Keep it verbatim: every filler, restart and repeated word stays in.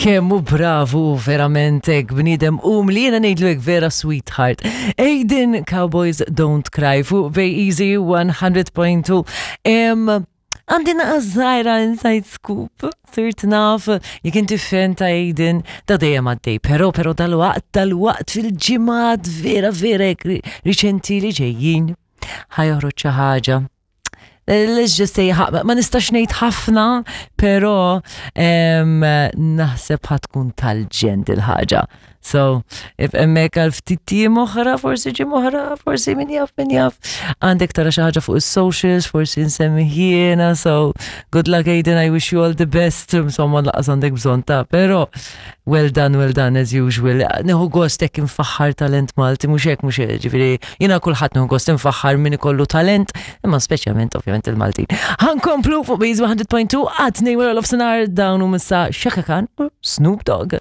Kemm hu bravu verament hekk bniedem umli, jiena ngħidlu hekk, vera sweetheart. Aiden, "Cowboys Don't Cry" fuq Bay Easy one hundred point two. Em, Għandi żgħira inside scoop, sirt naf, jekk inti fan ta' Aiden, da dejjem għaddej, pero pero dal-waqt, dal-waqt fil-ġimgħat vera vera hekk riċenti li ġejjin, ħa joħroġ xi ħaġa. Let's just say, ma nistax ngħid ħafna, pero em, naħseb ħa tkun tal-ġenn il-ħaġa. So, if hemmhekk għal ftit jiem oħra, forsi ġimgħa oħra, forsi min jaf, min jaf. Għandek tara xi ħaġa fuq is-socials, forsi nsemmi jiena, so good luck, Aiden, I wish you all the best. Insomma, lanqas għandek bżonn ta' pero well done, well done as usual. Nieħu gost hekk infaħħar talent Malti, mhux hekk, mhux hekk, ġifieri jiena kulħadd nieħu gost infaħħar min ikollu talent, imma speċjalment ovvjament il-Maltin. Ħa nkomplu fuq Base one hundred point two għat wara nofsinhar, dawn hu missa Chaka Khan u Snoop Dogg.